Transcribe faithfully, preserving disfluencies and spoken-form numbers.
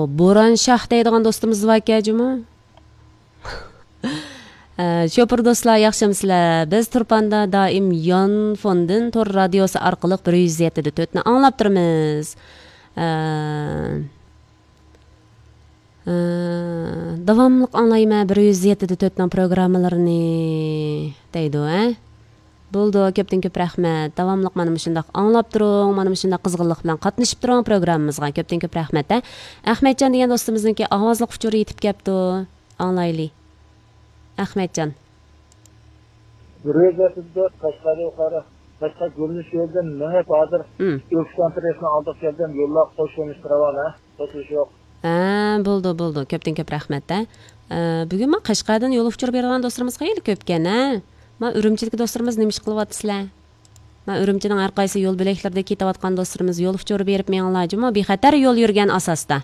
بوران شاھ دەيدىغان دوستىمىز باركەن جۇمۇ. ئە، شوپۇر دوستلار، ياخشىمۇسىلەر؟ بىز تۇرپاندا دائىم يانفوندىن تور رادىيوسى ئارقىلىق بىر يۈز يەتتە دە تۆتنى ئاڭلاپ تۇرىمىز. ئە، ئە، داۋاملىق ئاڭلايمەن بىر يۈز يەتتە دە تۆتنىڭ پروگراممىلىرىنى، دەيدۇ، ھە؟ بولىدۇ، كۆپتىن كۆپ رەھمەت. داۋاملىق مانا مۇشۇنداق ئاڭلاپ تۇرۇڭ، مانا مۇشۇنداق قىزغىنلىق بىلەن قاتنىشىپ تۇرۇڭ پروگراممىمىزغا. كۆپتىن كۆپ رەھمەت، ھە. ئەخمەتجان دېگەن دوستىمىزنىڭكى ئاۋازلىق ئۇچۇرى يېتىپ كەپتۇ. ئاڭلايلى. ئەخمەتجان. بىر يۈز يەتتە دە تۆت قەشقەردىن يۇقىرى، قەشقەر گۈللۈك يولىدىن مېڭىپ ھازىر مم. ئۆكسان ترېسنىڭ ئالدىغا كەلدىم، يوللار قوش يۆنىلىشتە راۋان، ھە؟ توسۇلۇش يوق. ھە، بولىدۇ، بولىدۇ. كۆپتىن كۆپ رەھمەت، ھە. ئە، بۈگۈن مانا قەشقەردىن يول ئۇچۇر بېرىدىغان دوستلىرىمىز خېلى كۆپكەن، ھە. مانا ئۈرۈمچىدىكى دوستلىرىمىز نېمە ئىش قىلىۋاتىسىلەر؟ مانا ئۈرۈمچىنىڭ ھەر قايسى يول بۆلەكلىرىدە كېتىۋاتقان دوستلىرىمىز يول ئۇچۇر بېرىپ مېڭىڭلار جۇمۇ، بىخەتەر يول يۈرگەن ئاساستا.